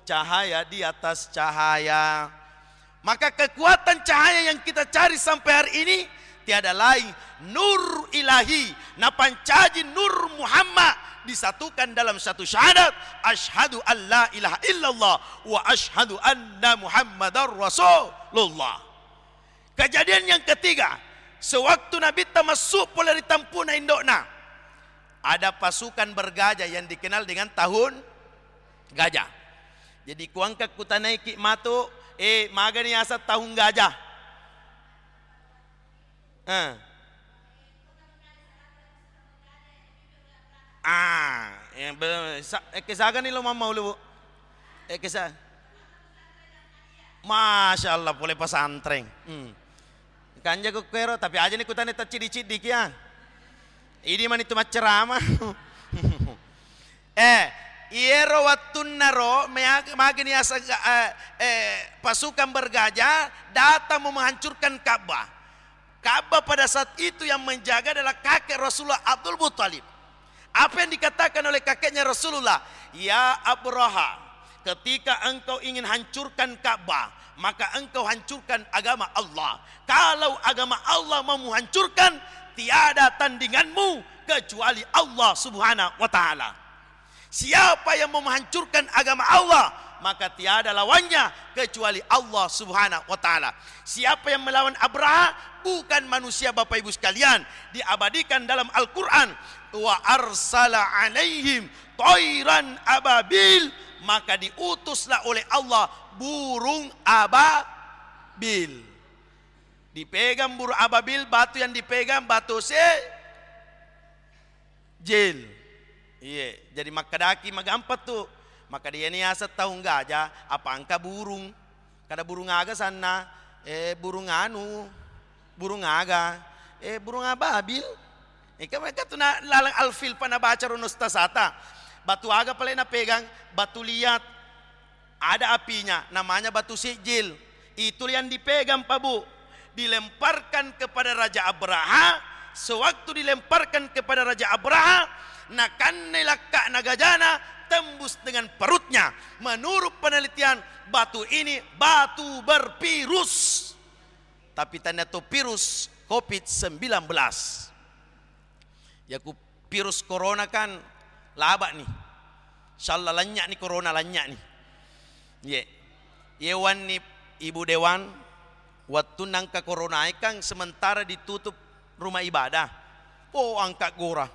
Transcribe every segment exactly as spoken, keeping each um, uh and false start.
cahaya di atas cahaya. Maka kekuatan cahaya yang kita cari sampai hari ini tiada lain nur ilahi, napancaji Nur Muhammad disatukan dalam satu syahadat, asyhadu an la ilaha illallah wa asyhadu anna Muhammadar Rasulullah. Kejadian yang ketiga, sewaktu Nabitta massu pole ri tampuna indo'na, ada pasukan bergajah yang dikenal dengan tahun gajah. Jadi kuangka kutanaiki matu, eh, magani asa tahun gajah? Eh. Ah, eh, be-, sa-, eh, kesagani lo mamma ulu, Bu? Eh, kesa-, Masya Allah, pole pesantren. Hmm. Kanja ku kuero, tapi aja ni kutane tacciddi-ciddi kia. Idi mani tu maccerama. Eh, iyero wattunnaro meag-, magini asa-, eh, eh, pasukan bergajah datang mau menghancurkan Ka'bah. Ka'bah pada saat itu yang menjaga adalah kakek Rasulullah, Abdul Muttalib. Apa yang dikatakan oleh kakeknya Rasulullah? "Ya Abraha, ketika engkau ingin hancurkan Ka'bah, maka engkau hancurkan agama Allah. Kalau agama Allah mau menghancurkan, tiada tandinganmu kecuali Allah Subhanahu wa Ta'ala." Siapa yang mau menghancurkan agama Allah, maka tiada lawannya kecuali Allah Subhanahu wa Ta'ala. Siapa yang melawan Abraha, bukan manusia, Bapak Ibu sekalian. Diabadikan dalam Al-Quran, "Wa arsala alaihim tairan ababil," maka diutuslah oleh Allah burung ababil. Dipegang burung ababil, batu yang dipegang batu se- Jil. Iye, jadi makkedaki magampang tu. Makkeda iyani yaseng taung gaja, apa engka burung. Kada burung aga sanna, eh, burung anu, burung aga, eh, burung ababil. Engka mereka tu na laleng alfil pa nabaca rono stasata. Batu aga pale napegang, batu liat. Ada apinya, namanya batu sijil. Itu yang dipegang, Pak Bu. Dilemparkan kepada Raja Abraha. Sewaktu dilemparkan kepada Raja Abraha, nakannai lakka'na gajana, tembus dengan perutnya. Menurut penelitian, batu ini batu bervirus. Tapi tanda tu virus covid sembilan belas. Yaku virus corona kan laba'ni. Insyaallah lannya'ni corona, lannya'ni. Ye. Ye wanni Ibu Dewan, wattunna engka corona e kan sementara ditutup rumah ibadah. Oh, angka gora.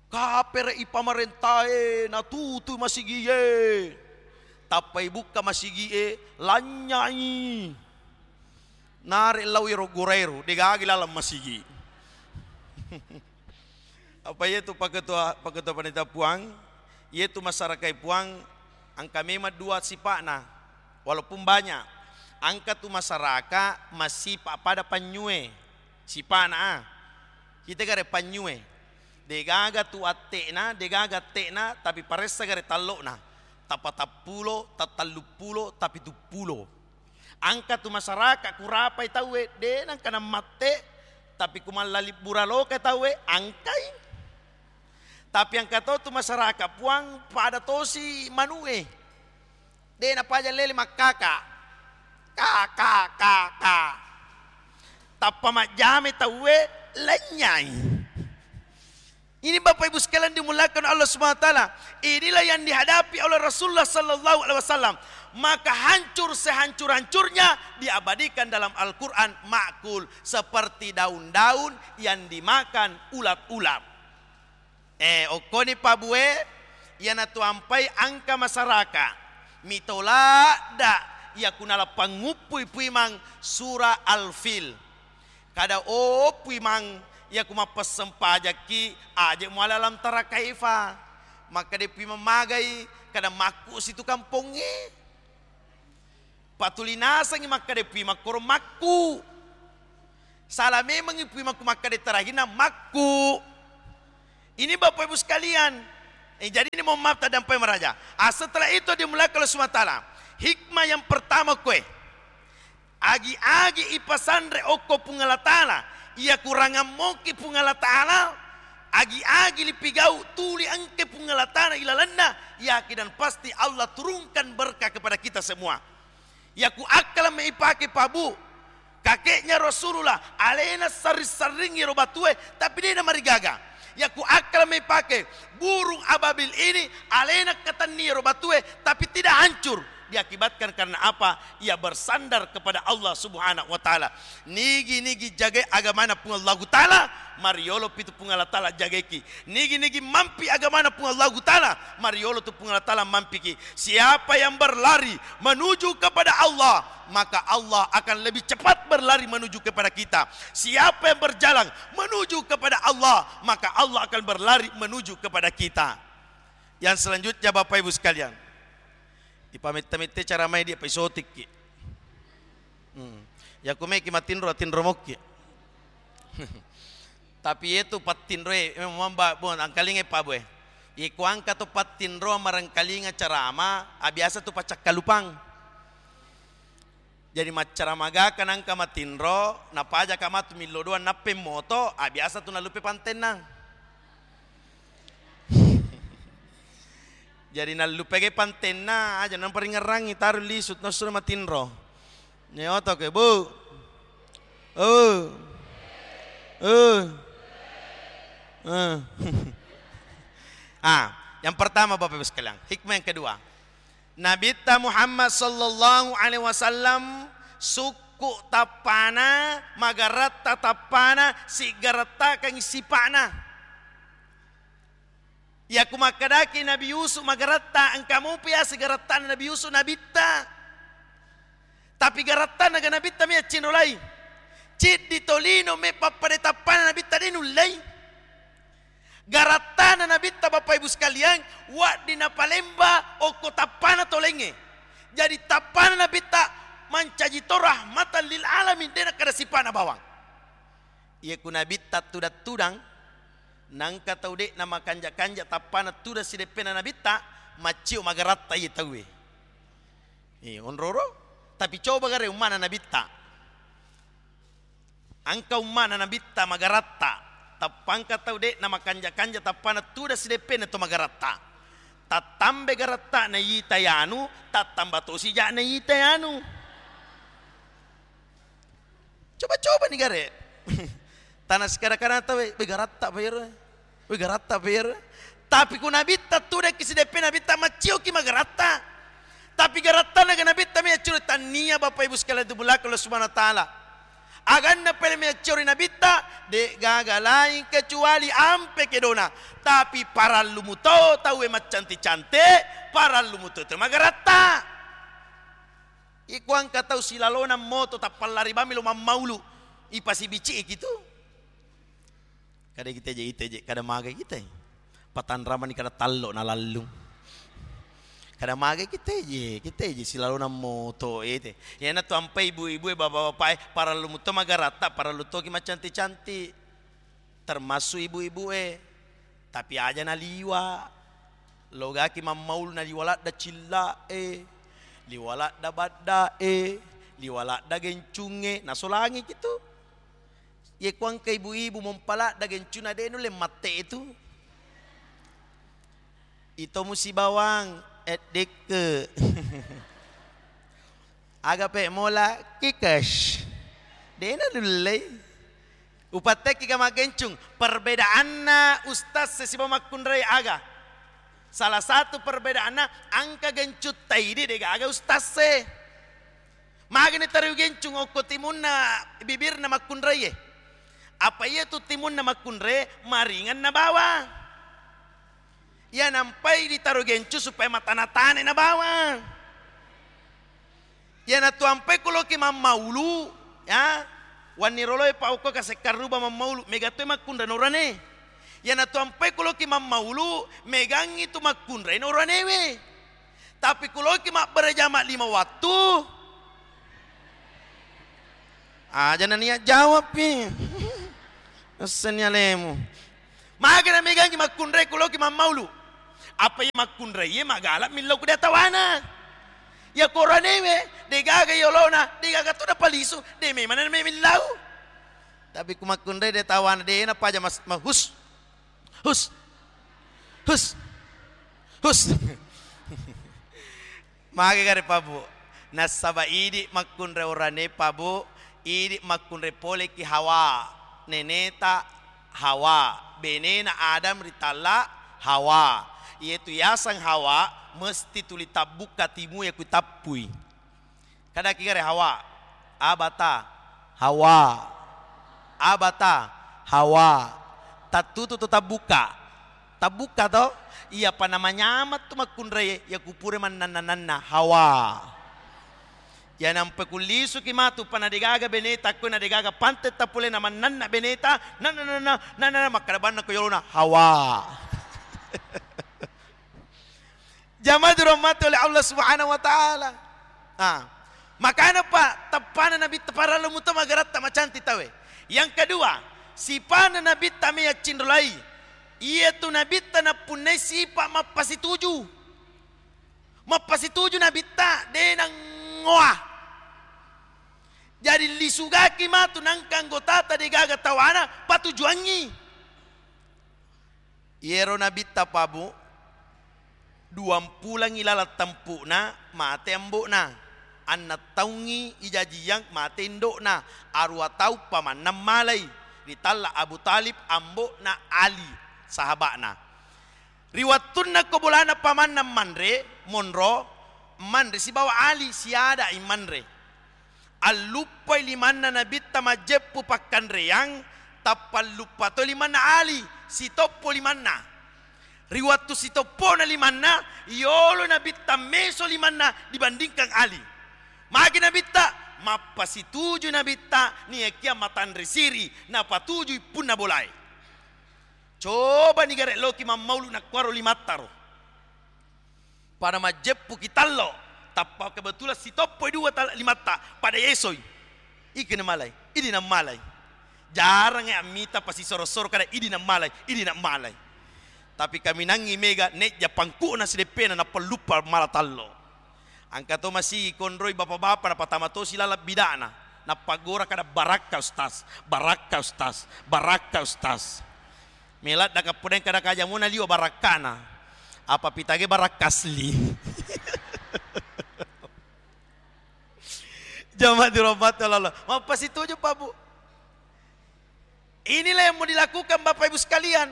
Kapere'i pamarentae natutui masigie. Tappai bukka masigie, lannyai. Nare lao ero goraero, degaga laleng masigi. Apa iyetu paketua, paketua panitia Puang, iyetu masyarakat Puang, engka memang dua sipa'na, walaupun banyak. Engka tu masyarakat masipa pada panyue, sipa'na, ah. Kita gare panyue. Degaga tu atte'na, degaga atte'na, tapi paressa gare tallo'na. Tapatappulo, tatalluppulo, tapituppulo. Engka tu masyarakat kurapai tauwe, de nengka nammatte, tapi ku mallalibbura loka tauwe, engkai. Tapi engka to tu masyarakat Puang pada tosi manue. De napaja lele makkaka. Ka, ka, ka, ka. Tappa majjame tauwe, lennyai. Ini Bapak Ibu sekalian dimuliakan Allah Subhanahu wa Ta'ala. Inilah yang dihadapi oleh Rasulullah sallallahu alaihi wasallam. Maka hancur sehancur-hancurnya diabadikan dalam Al-Quran, makul seperti daun-daun yang dimakan ulat-ulat. Eh, okkoni pabue, iyanatu ampai engka masyarakat mitoladda iya kunala panguppui puimang surah Al-Fil. Kada, oh, puimang, iya ku mappesseng pajakki, aje muala alam tara kaifa. Makkeda puimang magai, kada makku situ kampongnge. Patuli nasengngi makkeda puimang koro makku. Sala memengngi puimang ku makkeda terakhirna makku. Ini Bapak Ibu sekalian, eh, jadi ini mohon maaf tadampai maraja. Ah, setelah itu dimuliakan Allah Subhanahu wa Ta'ala. Hikmah yang pertama kue. Agi-agi ipasanre okko Puang Allah Ta'ala, iya kurangammoki Puang Allah Ta'ala, Agi-agi lipigau tuli engke Puang Allah Ta'ala ilalenna, yakin dan pasti Allah turunkan berkah kepada kita semua. Yaku akkala me ipake, Pak, Bu, kakeknya Rasulullah, alena sarring-sarring iyaro batue, tapi de namarigaga. Yaku akkala me ipake, burung ababil ini alena katenni iyaro batue, tapi tidak hancur. Diakibatkan karena apa? Ia bersandar kepada Allah Subhanahu wa Ta'ala. Nigi-nigi jagai agamana Puang Allahu Ta'ala, mariolo pitu Puang Allah Ta'ala jagaiki. Nigi-nigi mampi agamana Puang Allahu Ta'ala, mariolo tu Puang Allah Ta'ala mampiki. Siapa yang berlari menuju kepada Allah, maka Allah akan lebih cepat berlari menuju kepada kita. Siapa yang berjalan menuju kepada Allah, maka Allah akan berlari menuju kepada kita. Yang selanjutnya, Bapak Ibu sekalian, ipamette-mette cara mai dia paisotikki. Hmm. Yaku meki matinro, tinro mokki. Tapi yetu pattinroe memang mamba, bu, angkalinga, Pak, Bu, e. Iko angka tu pattinro marengkalinga carama, a, biasa tu pacakkalupang. Jadi maccara magaka nangka matinro, napajaka matu millo doang nappe moto, a, biasa tu nallupe pantenna. Jadi nallupe ge pantenna, aja namparingerrangi, taru lisu, nassuna matinro. Nyoto ke, Bu. Oh. Oh. Eh. Ah, yang pertama, Bapak Ibu sekalian, hikmah yang kedua. Nabitta Muhammad sallallahu alaihi wasallam sukku tappana, magaratta tappana, sigarattakangngi sipa'na. Yaku makkedaki Nabi Yusuf magaratta, engka mopi ya sigarattana Nabi Yusuf nabitta. Tapi garattana ga nabitta mi accinrolai. Ciddi tolino me pappada tappana nabitta de nullei. Garattana nabitta, Bapak Ibu sekalian, wedding napalemba okko tappana tolengnge. Jadi tappana nabitta mancaji to rahmatan lil alamin, de nakkeda sipa'na bawang. Iye ku nabitta tudang-tudang, nangka tau de namakanja-kanja tappana tudang sideppena nabitta, maccio magaratta iye tauwe. Eh, onroro, tapi coba gare ummana nabitta. Engka ummana nabitta magaratta, tappangka tau de namakanja-kanja tappana tudang sideppena to magaratta. Tattambe garatta na ita yanu, tattamba tosi ja na ita yanu. Coba-coba ni gare. Tana sekada-kadang tau, "Weh, garatta pa iyaro. Weh, garatta pa iyaro." Tapi ku nabitta tudakki sideppe nabitta, maccioki magaratta. Tapi garattana ga nabitta mi accuru, tannia, Bapak Ibu sekalian, tu belakang Allah Subhanahu wa Ta'ala. Aganna pele mi accuru nabitta, de gaga lain kecuali ampe kedona. Tapi parallu muto tauwe maccanti-canti, parallu muto tu magaratta. Iko engka tau silalona moto tappallari bammi lo mammaulu, ipasibiciki tu. Kada kita je, ita je, kada magai kita. Patanramani kada tallo na lallung. Kada magai kita je, kita je silalona moto ete. Iyana tu ampai ibu-ibu e, bapak-bapak e, parallu muto magaratta, parallu toki macanti-canti. Termasuk ibu-ibu e. Tapi aja naliwa. Logaki mammaulu naliwa ladda cilla e, liwa ladda badda e, liwa ladda gencung e, nasolangi kitu. Ye kuangka ibu-ibu mompa ladda gencuna de nulle matte tu. Ito musi bawang, eddekke. Aga pe mola kikes. Dena nullei. Upattekki ga maggencung. Perbedaanna ustaz e sibawa makkunrai aga? Salah satu perbedaanna, angka gencung taidi de gaga ustaz e. Magani tariu gencung okko timunna bibirna makkunrai e. Apa iya tu timunna makkunrai maringan nabawa. Iya nampai ditaro gencung supaya matana-tana nabawa. Iyanatu ampai kuloki mammaulu, ya, wanni roloi pa okko kasekkarruba mammaulu, mega toi makkunrai norane. Iyanatu ampai kuloki mammaulu, megangngi tu makkunrai noranewe. Tapi kuloki mabbere jama lima wattu, aja naniat jawabpi. Esseni alemu. Maga namegangngi makkunrai kuloki mammaulu. Apa iya makkunrai e magala millau ku datawana. Iya koranewe, degaga yolona, degaga tu napalisu, de memang na memillau. Tapi ku makkunrai datawana, de napaja mas-, mahus. Hus. Hus. Hus. Magi gare, Pak Bu? Nassaba idi makkunrai orane, Pak Bu, idi makkunrai poleki Hawa, neneta Hawa, benena Adam ritalla Hawa. Iyetu yaseng Hawa mesti tuli tabbukka timue ku tappui. Kadaki gare Hawa, abata, Hawa, abata, Hawa. Tattutu to tabbukka. Tabbukka to? Iyapa namanyameng tu makkunrai iya kupure mannanna-nanna Hawa. Iya nampa kullisuki matu pa nadegaga beneta, ko nadegaga pante tapolena mannanna beneta, nanna, nanna, nanna, makkada banna ko yolona Hawa. Jamaah dirahmati oleh Allah Subhanahu wa Ta'ala. Ah. Makana pa teppana Nabitta parallu muto magaratta macanti tawe. Yang kedua, sipana Nabitta me yaccinrolai. Iyatu Nabitta nappunnai sipa mappasituju. Mappasituju Nabitta de nangoa. Jadi lisugaki matu nangka anggotata degaga tawana patujuangngi. Iyero Nabitta, Pak Bu, duampulangngi laleng tempu'na, mate ambo'na. Enneng taungngi ijajiyang, mate indo'na. Aruwa taung pamanna malai. Ritalla Abu Thalib, ambo'na Ali, sahaba'na. Ri wettunna ko bolana pamanna manre, monro, manre sibawa Ali, siada'i manre. Alluppai limanna Nabitta majjeppu pakkanreang, tappa alluppa to limanna Ali, sitoppo limanna. Ri wettu sitoppona limanna, yolo Nabitta meso limanna dibandingkan Ali. Magi Nabitta? Mappasituju Nabitta, niakia matanre siri, napatujui punna bolae. Cobani gare loki mammaulu nakkuaro limattaro. Pada majjeppuki tallo, tappa kebetulan sitoppoi dua tal-, limatta, pada yesoi. Iki namalai, idi namalai. Jarang e ammita pasisoro-soro kada idi namalai, idi namalai. Tapi kaminangngi mega nejja pangku'na sideppena nappa luppa mala tallo. Engka to masigi konroi bapa-bapa napatama tosi laleng bida'na. Nappagora kada, "Barakka, Ustaz, barakka, Ustaz, barakka, Ustaz." Meladda kapodeng kada kajamuna liwa barakkana. Apa pitage barakka asli. Jamaah dirahmati Allah. Mappasituju, Pak Bu. Inilah yang mau dilakukan, Bapak Ibu sekalian.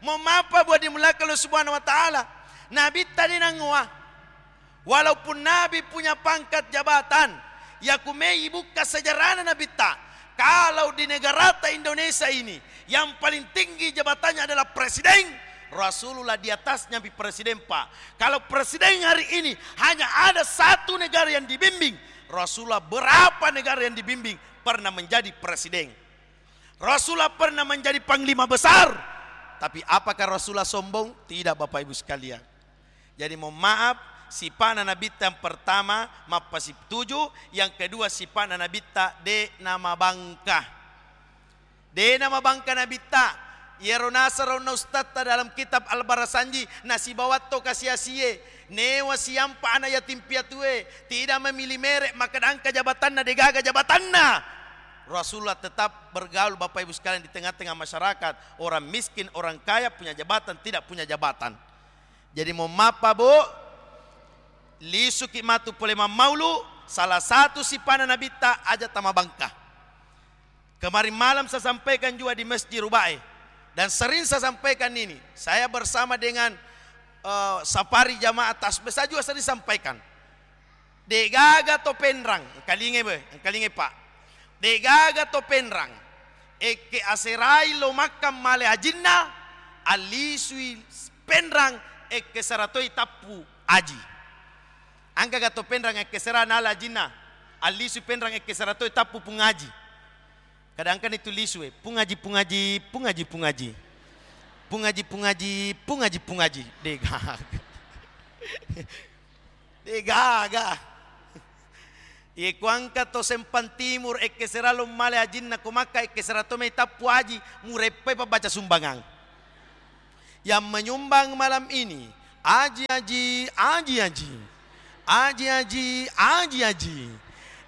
Mohon maaf, Pak Bu, dimulakan Allah Subhanahu wa Ta'ala. Nabitta de nangoa. Walaupun Nabi punya pangkat jabatan, yakumei bukka sejarahna Nabitta. Kalau di negarata Indonesia ini, yang paling tinggi jabatannya adalah presiden, Rasulullah di atasnya pi presiden, Pak. Kalau presiden hari ini hanya ada satu negara yang dibimbing, Rasulullah berapa negara yang dibimbing pernah menjadi presiden. Rasulullah pernah menjadi panglima besar. Tapi apakah Rasulullah sombong? Tidak, Bapak Ibu sekalian. Jadi, mohon maaf, sipa'na Nabitta yang pertama mappasituju, yang kedua sipa'na Nabitta de namabangka. De namabangka Nabitta. Iyaro nasaro onna ustadta dalam kitab Al-Barasanji, nasibawa to kasi-asie, newa siampa ana yatim piatue, tidak memilih merek, makkeda engka jabatanna, degaga jabatanna. Rasulullah tetap bergaul, Bapak Ibu sekalian, di tengah-tengah masyarakat, orang miskin, orang kaya, punya jabatan, tidak punya jabatan. Jadi, mohon maaf, Pak Bu, lisuki matu pole mammaulu, salah satu sipana Nabitta aja tamabangka. Kemarin malam saya sampaikan juga di Masjid Rubae, dan sering saya sampaikan ini. Saya bersama dengan, eh, Safari Jamaah Tasbih, saya juga sering sampaikan. Degaga to penrang, engkalingai be, engkalingai, Pak. Degaga to penrang, ekke aserai lo Makkah male ajinna, allisui penrang, ekke seratoi tappu aji. Engkaga to penrang ekke sera nala ajinna, allisui penrang ekke seratoi tappu pung aji. Kadangkani tu lisu e, "Pung Aji, Pung Aji, Pung Aji, Pung Aji. Pung Aji, Pung Aji, Pung Aji, Pung Aji." Degaga. Degaga. Iye kuangka to Sempang Timur, ekke sera lo male ajinna ko Makkah, ekke sera to mai tappu aji, mureppai pabbaca sumbangang. Yang menyumbang malam ini, aji, aji, aji, aji. Aji, aji, aji, aji.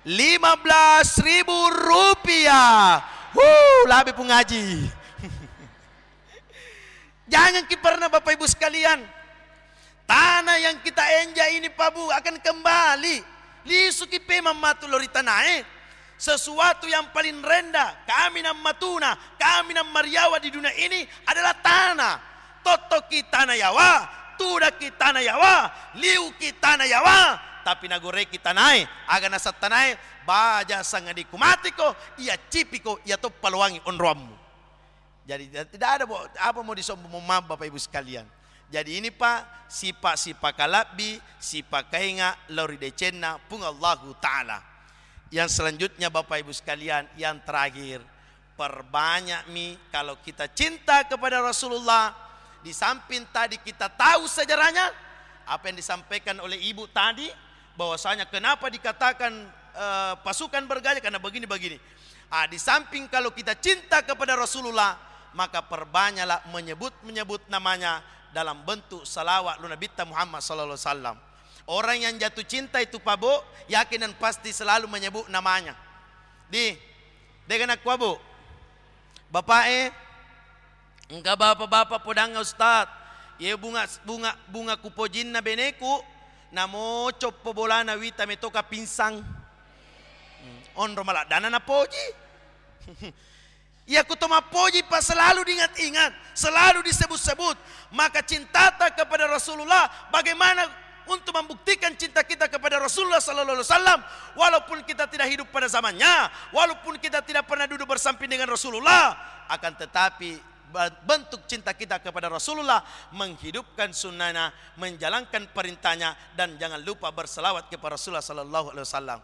Lima belas ribu rupiah. Wuh, labe Pung Aji. Jangan ki pernah, Bapak Ibu sekalian, tanah yang kita injak ini, Pak Bu, akan kembali. Lisuki pemang matu lao ri tanae. Sesuatu yang paling rendah, kaminang matuna, kaminang mariawa di dunia ini adalah tanah. Tottoki tanah yawa, tudaki tanah yawa, liuki tanah yawa, tapi nagoreki tanae, aga naseng tanae, baja sangadi kumatiko, iya cipiko, iya toppa loangi onroammu. Jadi, tidak ada bo-, apa mau disombong, mohon maaf, Bapak Ibu sekalian. Jadi, ini, Pak, sipa-, sipakalabbi, sipakainga lao ri decenna Puang Allahu Ta'ala. Yang selanjutnya, Bapak Ibu sekalian, yang terakhir, perbanyak mi kalau kita cinta kepada Rasulullah, di samping tadi kita tahu sejarahnya, apa yang disampaikan oleh Ibu tadi, bahwasanya kenapa dikatakan, eh, pasukan bergajah, karena begini-begini. Ah, di samping kalau kita cinta kepada Rasulullah, maka perbanyaklah menyebut-menyebut namanya dalam bentuk salawat lu Nabitta Muhammad sallallahu alaihi wasallam. Orang yang jatuh cinta itu, Pak Bu, yakin dan pasti selalu menyebut namanya. Di, dega nakua, Bu. Bapak e, engka bapak-bapak podangnga, Ustaz. Ye bunga, bunga, bunga kupojinna beneku, namo coppo bolana wita metoka pinsang. Hmm, onro maladdana napoji. Iya kuto mappoji, Pak, selalu diingat-ingat, selalu disebut-sebut. Maka cintata kepada Rasulullah, bagaimana untuk membuktikan cinta kita kepada Rasulullah sallallahu alaihi wasallam, walaupun kita tidak hidup pada zamannya, walaupun kita tidak pernah duduk bersamping dengan Rasulullah, akan tetapi ba-, bentuk cinta kita kepada Rasulullah, menghidupkan sunnahnya, menjalankan perintahnya, dan jangan lupa berselawat kepada Rasulullah sallallahu alaihi wasallam.